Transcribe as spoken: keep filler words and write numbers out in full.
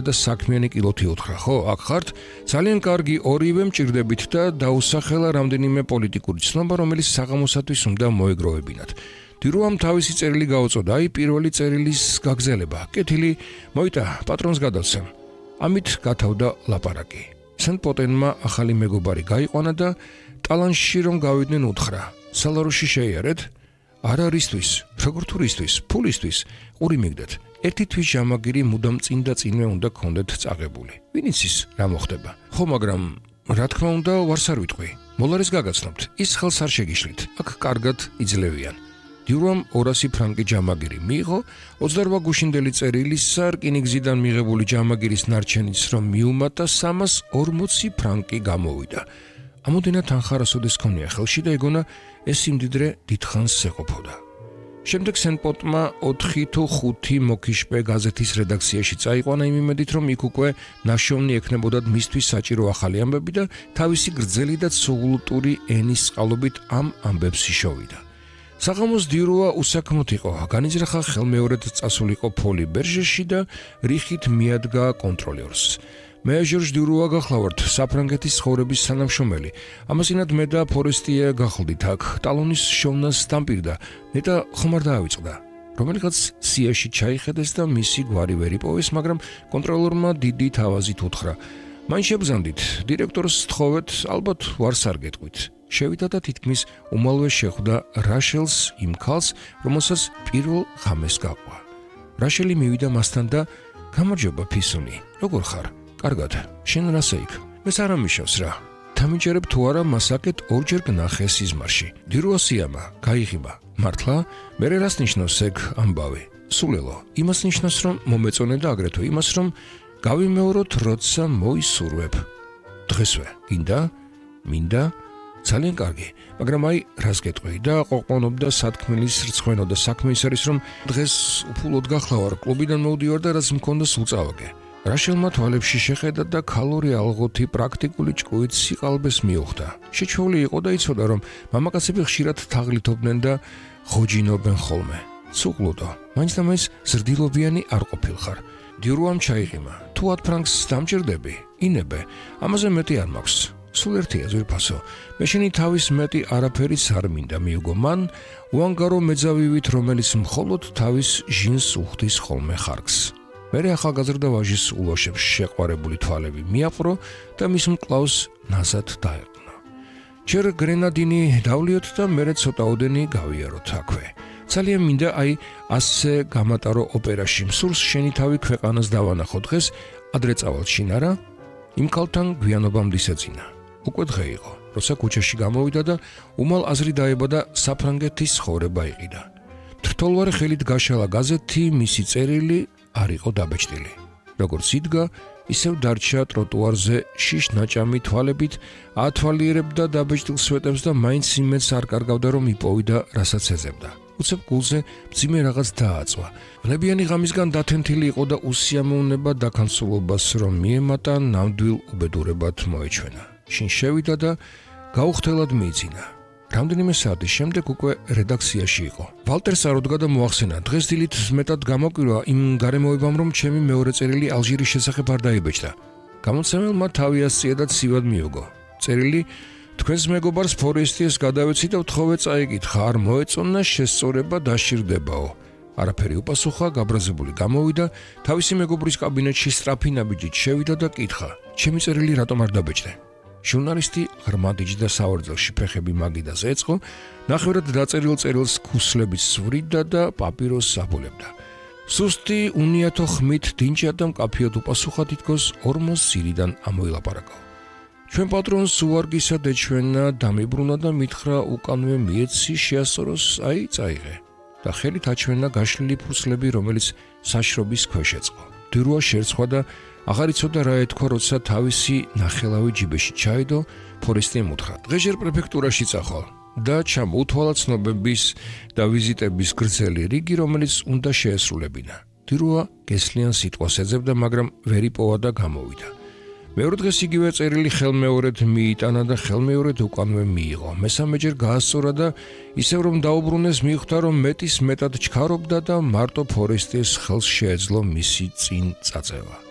და საქმიანი კილოთი უთხრა, ხო, აქ ხართ? ძალიან კარგი, ორივე მჭირდებით და დაუსახელა რამდენიმე პოლიტიკური ცნობა, რომელიც საღამოსათვის უნდა მოეგროვებინათ. დირუამ თავისი წერილი გაუწოდა, აი პირველი წერილის გაგზელება. კეთილი, მოიტა, პატრონს გადავცემ. ამით გათავდა ლაპარაკი. სენ-პოტენმა ახალი მეგობარი გაიყვანა და ტალანში რომ გავიდნენ უთხრა. სალაროში შეიარეთ? არ არისთვის, როგორ თურისთვის, ფულისთვის, ყური მიგდეთ. ერთი თვის ჟამაგირი მუდამ წინ და წინვე უნდა გქონდეთ წაღებული. ვინ იცის რა მოხდება? ხო, მაგრამ რა თქმა უნდა, ვარს არ ვიტყვი. მოლარეს გაგაცნობთ. ის ხელს არ შეგიშლით. აქ კარგად იძლევიან. დირუამ ორასი ფრანკი ჟამაგირი მიიღო, ოცდაორ გუშინდელი წერილისა რკინიგზიდან მიღებული ჟამაგირის ნარჩენიც რომ მიუმატა სამას ორმოცი ფრანკი გამოვიდა. ამოდენა თანხა რასოდეს ქონია ხელში და ეგონა ეს იმდიდრე დიდხანს ეყოფოდა. შემდეგ სენ-პოტმა ოთხი თუ ხუთი მოკიშპე გაზეთის რედაქციაში წაიყვანა იმ იმედით, რომ იქ უკვე ნაშოვნი ექნებოდათ მისთვის საჭირო ახალი ამბები და თავისი გრძელი და ცუღლტური ენის წყალობით ამ ამბებს იშოვიდა. საღამოს დირუა უსაქმოდ იყო, განიზრახა ხელმეორედ წასულიყო ფოლი ბერჟეში და რიხით მიადგა კონტროლერს. მე ჟორჟ დირუა გახლავართ, საფრანგეთის ცხოვრების თანამშრომელი. ამასინად მე და ფორესტია გახლდით აქ, ტალონის შოვნას დამპირდა, ნეტა ხომ არ დაავიწყდა. რომელიღაც სიაში ჩაიხედეს და მისი გვარი ვერ იპოვეს, მაგრამ კონტროლერმა დიდი თავაზით უთხრა. მან შეგზანდით, დირექტორს თხოვეთ, ალბათ ვარს არ გეტყვით. შევიდა და თითქმის უმალვე შეხვდა რაშელს იმ ქალს, რომელსაც პირველ ღამეს გაყვა. რაშელი მივიდა მასთან და გამარჯობა ფისუნი, როგორ ხარ? კარგად, შენ რასე იქ? მეს არ ამიშავს რა. დამიჯერებ თუ არა მასაკეთ ორჯერ გნახე სიზმარში. დირუა სიამა, გაიღიმა. მართლა? მერე რას ნიშნავს ეგ ამბავი? სულელო, იმას ნიშნავს რომ მომეწონე და აგრეთვე იმას რომ გავიმეოროთ როცა მოისურვებ. დღესვე, გინდა? მინდა? ძალიან კარგი, მაგრამ აი რას გეტყვი და ყოყმანობდა სათქმელის რცხვენო და საქმე ის არის რომ დღეს უფულოდ გახლავარ, კლუბიდან მოვდივარ და რაც მქონდა სულ წავაგე. რაშელმა თვალებში შეხედა და ქალური ალღოთი პრაქტიკული ჭკუით სიყალბეს მიუხვდა. შეჩვეული იყო და იცოდა რომ მამაკაცები ხშირად თაღლითობდნენ და ხოჯინობენ ხოლმე. სუყლუდო, მაინც და მაინც ზრდილობიანი არ ყოფილხარ. დირუამ ჩაიღიმა. თუ ათ ფრანკს დამჭირდები, ინებე, ამაზე მეტი არ მაქვს. სულ ერთია ზვირფასო. მე შენი თავის მეტი არაფერიც არ მინდა მიუგო მან, უანგარო მეძავივით, რომელიც მხოლოდ თავის ჟინს უხდის ხოლმე ხარკს. მერე ახალგაზრდა ვაჟის ულოშებს შეყვარებული თვალები მიაპყრო და მის მკლავს ნაზად დაეყნა. ჯერ გრენადინი დავლიოთ და მერე ცოტაოდენი გავიაროთ აქვე. ძალიან მინდა აი ასე გამატარო ოპერაში. მსურს შენი თავი ქვეყანას დავანახო დღეს, ადრე წავალ შინ არა? იმ კალთან გვიანობამდე ისეძინა. უკვე დღე იყო, როცა ქუჩაში გამოვიდა და უმალ აზრი დაება და საფრანგეთის ცხოვრება იყიდა. თრთოლვარე ხელით გაშალა გაზეთი, მისი წერილი არ იყო დაბეჭდილი. როგორც იდგა, ისევ დარჩა ტროტუარზე შიშ-ნაჭამი თვალებით, ათვალიერებდა დაბეჭდილ სვეტებს და მაინც იმედს არ კარგავდა რომ იპოვიდა, რასაც ეძებდა. უცებ გულზე მძიმე რაღაც დააწვა. ვნებიანი ღამისგან დათენთილი იყო და უსიამოვნება დაქანცულობას რომ მიემატა ნამდვილ უბედურებად მოეჩვენა. შინ შევიდა და გაუხთელად მიიძინა. რამდენიმე საათის შემდეგ უკვე რედაქციაში იყო. ვალტერს არ უდგა და მოახსენა, დღეს დილით მეტად გამოკვირვა იმ გარემოებამ, რომ ჩემი მეორე წერილი ალჟირის შესახებ არ დაიბეჭდა. გამოცემელმა თავი ასწია და ცივად მიუგო. წერილი თქვენს მეგობარს ფორესტიეს გადავეცი და ვთხოვე წაიკითხა, არ მოეწონა შესწორება დაშირდებაო. არაფერი უპასუხა, გაბრაზებული გამოვიდა, თავისი მეგობრის კაბინეტში სწრაფი ნაბიჯით შევიდა და კითხა, ჩემი წერილი რატომ არ დაბეჭდე? ჟურნალისტი ღრმად იჯდა სავარძელში, ფეხები მაგიდაზე ეწყო, ნახევრად დაწერილ წერილს ქუსლებით სვრიდა და პაპიროსს აბოლებდა. სუსტი უნიათო ხმით დინჭა და მკაფიოდ უპასუხა, თითქოს ორმოს სირიდან ამოილაპარაკა. ჩვენ პატრონს უვარგისად ეჩვენა, დამიბრუნა და მითხრა უკანვე მიეცი შეასწოროს, აი წაიღე. და ხელით აჩვენა გაშლილი ფურცლები, რომელიც საშრობის ქვეშ ეწყო. დირუა შერცხვა და აღარ იცოდა რა ეთქვა, როცა თავისი ნახელავი ჯიბეში ჩაიდო, ფორესტიემ უთხრა, დღეჟერ პრეფექტურაში წახვალ და ჩამოუთვალა ცნობების და ვიზიტების გრძელი რიგი, რომელიც უნდა შეესრულებინა. დირუა გესლიან სიტყვას ეძებდა, მაგრამ ვერ იპოვა და გამოვიდა. მეორე დღეს იგივე წერილი ხელმეორედ მიიტანა და ხელმეორედ უკანვე მიიღო. მესამეჯერ გაასწორა და ისევ რომ დაუბრუნეს, მიხვდა რომ მეტის მეტად ჩქარობდა და მარტო ფორესტიეს ხელს შეეძლო მისი წინ წაწევა.